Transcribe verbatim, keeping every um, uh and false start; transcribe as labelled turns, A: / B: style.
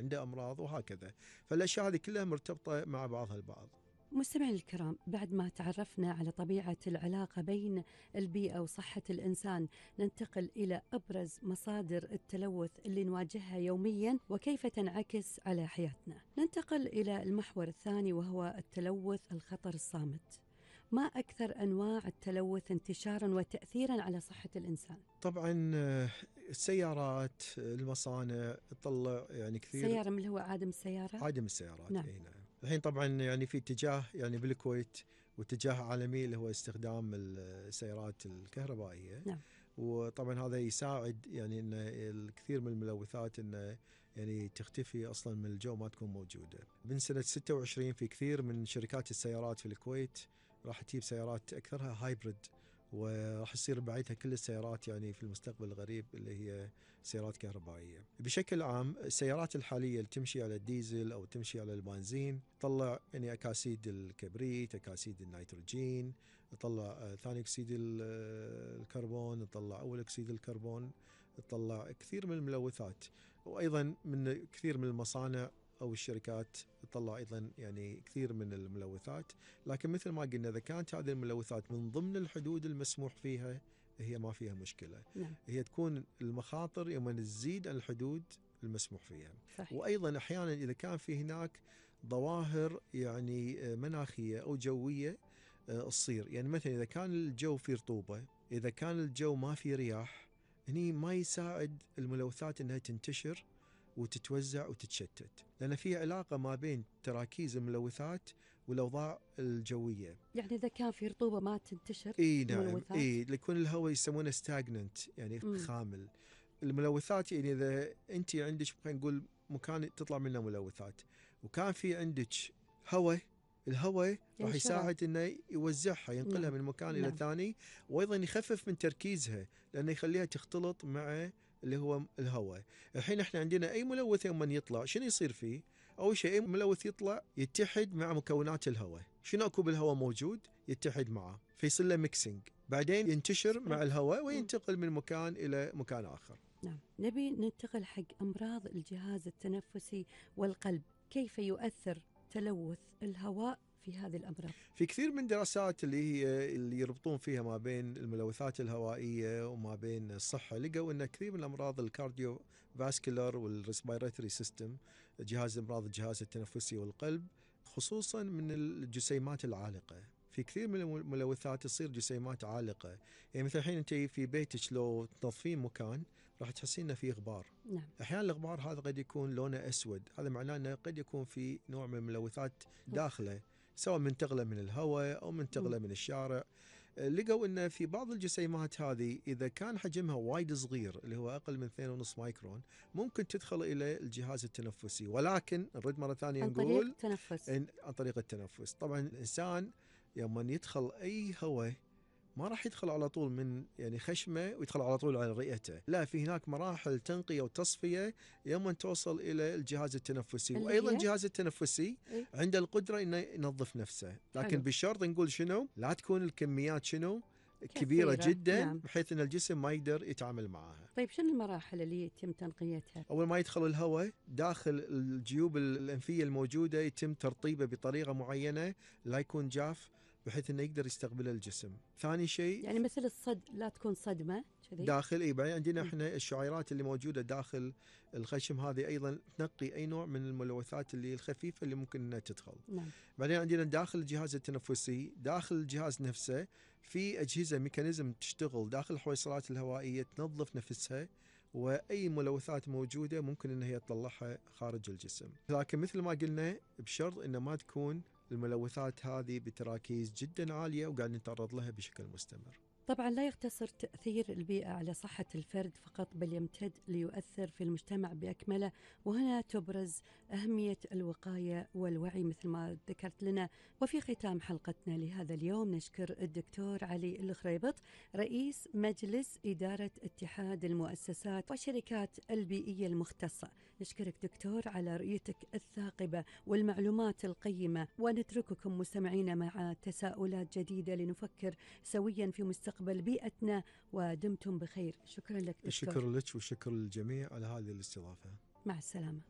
A: عنده أمراض وهكذا. فالأشياء هذه كلها مرتبطة مع بعضها البعض.
B: مستمعين الكرام، بعد ما تعرفنا على طبيعة العلاقة بين البيئة وصحة الإنسان، ننتقل إلى أبرز مصادر التلوث اللي نواجهها يوميا وكيف تنعكس على حياتنا. ننتقل إلى المحور الثاني وهو التلوث الخطر الصامت. ما أكثر أنواع التلوث انتشاراً وتأثيراً على صحة الإنسان؟
A: طبعاً السيارات، المصانع تطلع يعني كثير.
B: سيارة من اللي هو عادم السيارة؟
A: عادم السيارات.
B: نعم.
A: نعم. الحين طبعاً يعني في اتجاه يعني بالكويت واتجاه عالمي اللي هو استخدام السيارات الكهربائية.
B: نعم.
A: وطبعاً هذا يساعد يعني إن الكثير من الملوثات إنه يعني تختفي أصلاً من الجو، ما تكون موجودة. من سنة ستة وعشرين في كثير من شركات السيارات في الكويت راح تجيب سيارات أكثرها هايبريد، وراح يصير بعيدها كل السيارات يعني في المستقبل القريب اللي هي سيارات كهربائية. بشكل عام السيارات الحالية اللي تمشي على الديزل أو تمشي على البنزين تطلع يعني أكاسيد الكبريت، أكاسيد النيتروجين، تطلع ثاني أكسيد الكربون، تطلع أول أكسيد الكربون، تطلع كثير من الملوثات. وأيضا من كثير من المصانع أو الشركات تطلع أيضا يعني كثير من الملوثات. لكن مثل ما قلنا إذا كانت هذه الملوثات من ضمن الحدود المسموح فيها هي ما فيها مشكلة.
B: نعم.
A: هي تكون المخاطر يوم تزيد عن الحدود المسموح فيها.
B: صحيح.
A: وأيضا أحيانا إذا كان في هناك ظواهر يعني مناخية أو جوية تصير، يعني مثلا إذا كان الجو فيه رطوبة، إذا كان الجو ما فيه رياح، هني ما يساعد الملوثات أنها تنتشر وتتوزع وتتشتت، لأن في علاقة ما بين تراكيز الملوثات والأوضاع الجوية.
B: يعني إذا كان في رطوبة ما تنتشر
A: إيه نعم.
B: الملوثات.
A: إيه يكون الهواء يسمونه ستاجننت يعني م. خامل. الملوثات يعني إذا أنت عندك خلينا نقول مكان تطلع منه ملوثات وكان في عندك هواء، الهواء راح يساعد انه يوزعها، ينقلها
B: نعم.
A: من مكان
B: نعم.
A: الى ثاني، وايضا يخفف من تركيزها لانه يخليها تختلط مع اللي هو الهواء. الحين احنا عندنا اي ملوث يوم من يطلع شنو يصير فيه؟ اول شيء اي ملوث يطلع يتحد مع مكونات الهواء، شنو اكو بالهواء موجود يتحد معه فيصير له ميكسينج، بعدين ينتشر مع الهواء وينتقل من مكان الى مكان اخر.
B: نعم. نبي ننتقل حق امراض الجهاز التنفسي والقلب، كيف يؤثر تلوث الهواء في هذه الأمراض؟
A: في كثير من دراسات اللي هي اللي يربطون فيها ما بين الملوثات الهوائية وما بين الصحة، لقوا أن كثير من الأمراض الكارديو فاسكولار والريسبيراتوري سيستم، جهاز أمراض الجهاز التنفسي والقلب، خصوصا من الجسيمات العالقة. في كثير من الملوثات تصير جسيمات عالقة، يعني مثل الحين أنت في بيتك لو تنظفين مكان راح تحسين أنه فيه غبار.
B: نعم.
A: أحيانا الغبار هذا قد يكون لونه أسود، هذا معناه أنه قد يكون في نوع من الملوثات داخله، سواء منتقلة من الهواء أو منتقلة من الشارع. لقوا أن في بعض الجسيمات هذه إذا كان حجمها وايد صغير اللي هو أقل من اثنين ونص مايكرون ممكن تدخل إلى الجهاز التنفسي، ولكن نرد مرة ثانية
B: عن
A: نقول
B: طريق التنفس.
A: عن طريق التنفس. طبعا الإنسان يوم يدخل أي هواء ما راح يدخل على طول من يعني خشمه ويدخل على طول على رئته، لا، في هناك مراحل تنقية وتصفية يوم أن توصل إلى الجهاز التنفسي. وأيضا الجهاز التنفسي
B: إيه؟
A: عنده القدرة إنه ينظف نفسه، لكن
B: حلو.
A: بالشرط نقول شنو؟ لا تكون الكميات شنو؟ كبيرة
B: كثيرة.
A: جدا.
B: نعم.
A: بحيث أن الجسم ما يقدر يتعامل معها.
B: طيب شنو المراحل اللي يتم تنقيتها؟
A: أول ما يدخل الهواء داخل الجيوب الأنفية الموجودة يتم ترطيبه بطريقة معينة لا يكون جاف بحيث أنه يقدر يستقبل الجسم. ثاني شيء
B: يعني مثل الصد لا تكون صدمة كذي
A: داخل. إيه بعدين عندنا إحنا الشعيرات اللي موجودة داخل الخشم هذه أيضا تنقي أي نوع من الملوثات اللي الخفيفة اللي ممكن أنها تدخل.
B: نعم.
A: بعدين عندنا داخل الجهاز التنفسي، داخل الجهاز نفسه في أجهزة ميكانيزم تشتغل داخل الحويصلات الهوائية تنظف نفسها، وأي ملوثات موجودة ممكن أنها هي تطلعها خارج الجسم. لكن مثل ما قلنا بشرط أن ما تكون الملوثات هذه بتراكيز جدا عالية وقاعد نتعرض لها بشكل مستمر.
B: طبعا لا يقتصر تأثير البيئة على صحة الفرد فقط، بل يمتد ليؤثر في المجتمع بأكمله، وهنا تبرز أهمية الوقاية والوعي مثل ما ذكرت لنا. وفي ختام حلقتنا لهذا اليوم نشكر الدكتور علي الخريبط، رئيس مجلس إدارة اتحاد المؤسسات والشركات البيئية المختصة. نشكرك دكتور على رؤيتك الثاقبة والمعلومات القيمة، ونترككم مستمعين مع تساؤلات جديدة لنفكر سويا في مستقبل بيئتنا، ودمتم بخير. شكرا لك دكتور.
A: شكرا لك وشكرا للجميع على هذه الاستضافة.
B: مع السلامة.